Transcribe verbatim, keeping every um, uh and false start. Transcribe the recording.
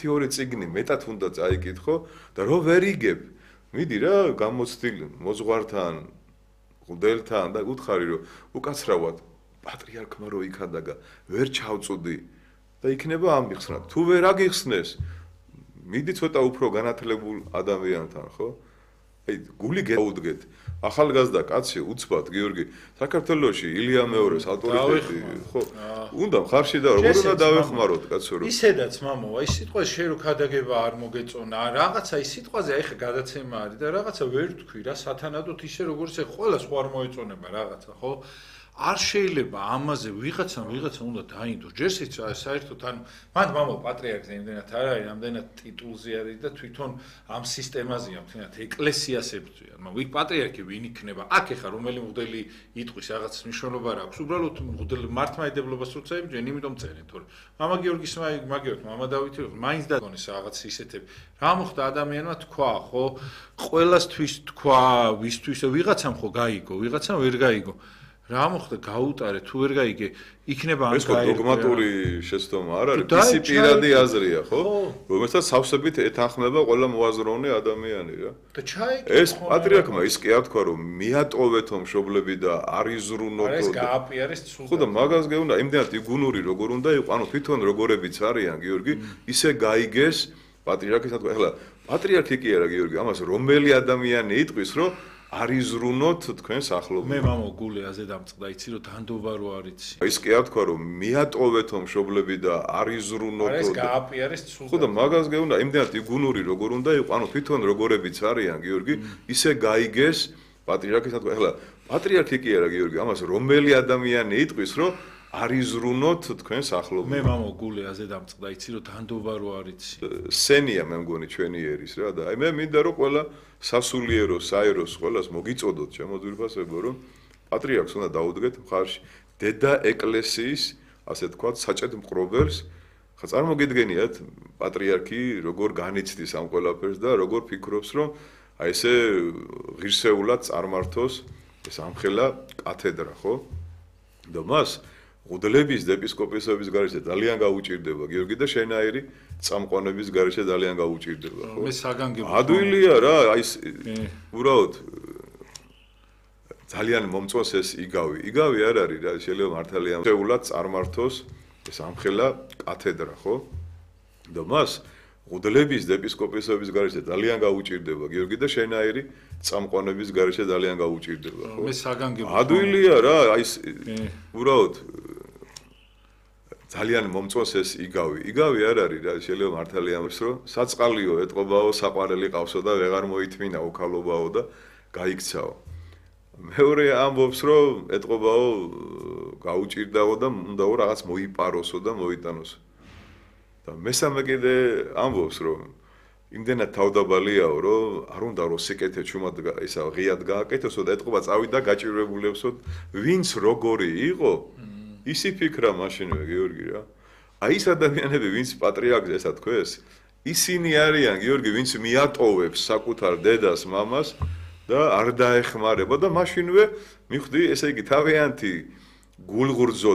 თეორი წიგნი მეტად უნდა წაიკითხო და რო ვერ იგებ მიდი რა გამოცდილ მოძღვართან მღვდელთან და უთხარი რომ უკაცრავად პატრიარქმა რო იქადაგა ვერ ჩავწუდი და იქნება ამიხსნა თუ ვერ აგიხსნეს მიდი ცოტა უფრო განათლებულ ადამიანთან ხო აი გული გაუდგეთ ახალგაზრდა კაცი უცბად გიორგი საქართველოში ილია მეორის ავტორიტეტი ხო უნდა ხარში და როგორ უნდა დავეხმაროთ კაცო რომ ისედაც მამო აი სიტყვა შენ რო ქადაგება არ მოგეწონა რაღაცა ის სიტყვაზე აი ხა გადაცემა არის და რაღაცა ვერ თქვი რა სათანადოდ ისე როგორც ეხ ყველა სხვა არ მოეწონება რაღაცა ხო არ შეიძლება ამაზე ვიღაცამ ვიღაცა უნდა დაინდოს ჯერსიც საერთოდ ანუ მანდ მამო პატრიარქს იმდენად არ არის ამდენად ტიტულზე არის და თვითონ ამ სისტემაზეა მთლიანად ეკლესიას ებრძვიან მაგრამ ვი პატრიარქი ვინ იქნება აქ ეხა რომელი მღვდელი იტყვის რაღაც მნიშვნელობა რა აქვს უბრალოდ მღვდელი მართლმადიდებლობას როცა ებრძვიან იმიტომ წერენ თორე მამა გიორგის მაგიოთ მამა დავითი მაინც დაგონეს რაღაც ისეთები რა მოხდა ადამიანმა თქვა ხო ყველასთვის თქვა ვისთვის ვიღაცამ ხო გაიგო ვიღაცამ ვერ გაიგო რა მოხდა გაუტარე თუ ვერ გაიგე იქნება ამ გაიგო ეს დოგმატური შეცდომა არ არის ისი პირადი აზრია ხო რომელსაც სავსებით ეთანხმება ყველა მოაზროვნე ადამიანი რა და ჩაიგე ეს პატრიარქმა ის კი არ თქვა რომ მიატოვეთო მშობლები და არ იზრუნოთო ეს გააპიარეს ცუდად ხო და მაგას გეუნდა იმდენად იგუნური როგორ უნდა იყო ანუ თვითონ როგორებიც არიან გიორგი ისე გაიგეს პატრიარქის თქვა ეხლა პატრიარქი კი არა გიორგი ამას რომელი ადამიანი იტყვის რომ არ იზრუნოთ თქვენ სახლობი. მე მამო გული აზე დამწყდა, იცი რომ დანდობა რო არიცი. ის კი არ თქვა რომ მიატოვეთო მშობლები და არ იზრუნოთო. ეს გააპიარეს ცუდად. ხო და მაგას გეუნდა იმდენად იგუნური როგორ უნდა იყო, ანუ თვითონ როგორებიც არიან გიორგი, ისე გაიგეს პატრიარქის თქვა. ეხლა პატრიარქი კი არა გიორგი, ამას რომელი ადამიანი იტყვის რომ არ იზრუნოთ თქვენ სახლობი. მე მამო გული აზე დამწყდა, იცი რომ დანდობა რო არიცი. სენია მე მგონი ჩვენი ერის რა და აი მე მინდა რომ ყველა სასულიერო საეროს ყველას მოგიწოდოთ ჩემო ძვირფასებო რომ პატრიარქს უნდა დაუდგეთ მხარში დედა ეკლესიის ასე თქვა საჭედ მყრობელს ხა წარმოგიდგენიათ პატრიარქი როგორ განიცდის ამ ყველაფერს და როგორ ფიქრობს რომ აი ესე ღირსეულად წარმართოს ეს ამხელა კათედრა ხო და მას მღვდლების და ეპისკოპოსების გარეშე ძალიან გაუჭირდება გიორგი და შენაირი წამყვანების გარეშე ძალიან გაუჭირდება ხო მე საგანგებო ადვილია რა აი უბრალოდ ძალიან მომწონს ეს იგავი იგავი არ არის რა შეიძლება მართალია შეულად წარმართოს ეს ამხელა კათედრა ხო და მას მღვდლების და ეპისკოპოსების გარეშე ძალიან გაუჭირდება გიორგი და შენაირი წამყვანების გარეშე ძალიან გაუჭირდება ხო მე საგანგებო ადვილია რა აი უბრალოდ ძალიან მომწონს ეს იგავი. იგავი არ არის რა, შეიძლება მართალია ამის რომ საწყალიო ეტყობაო, საყვარელი ყავსო და ვეღარ მოითმინა უქალობაო და გაიქცაო. მეორე ამბობს რომ ეტყობაო, გაუჭირდაო და უნდაო რაღაც მოიპაროსო და მოიტანოსო. და მესამე კიდე ამბობს რომ იმდენად თავდაბალიაო რომ არ უნდა რომ სიკეთე ჩუმად ისა ღიად გააკეთოსო და ეტყობა წავიდა გაჭირვებულებსო ვინც როგორი იყო ისი ფიქრა მაშინვე გიორგი რა. აი ეს ადამიანები ვინც პატრიარქს ესა თქვეს, ისინი არიან გიორგი ვინც მიატოვებს საკუთარ დედას, მამას და არ დაეხმარება და მაშინვე მიხვდი ესე იგი თავიანთი გულღურძო და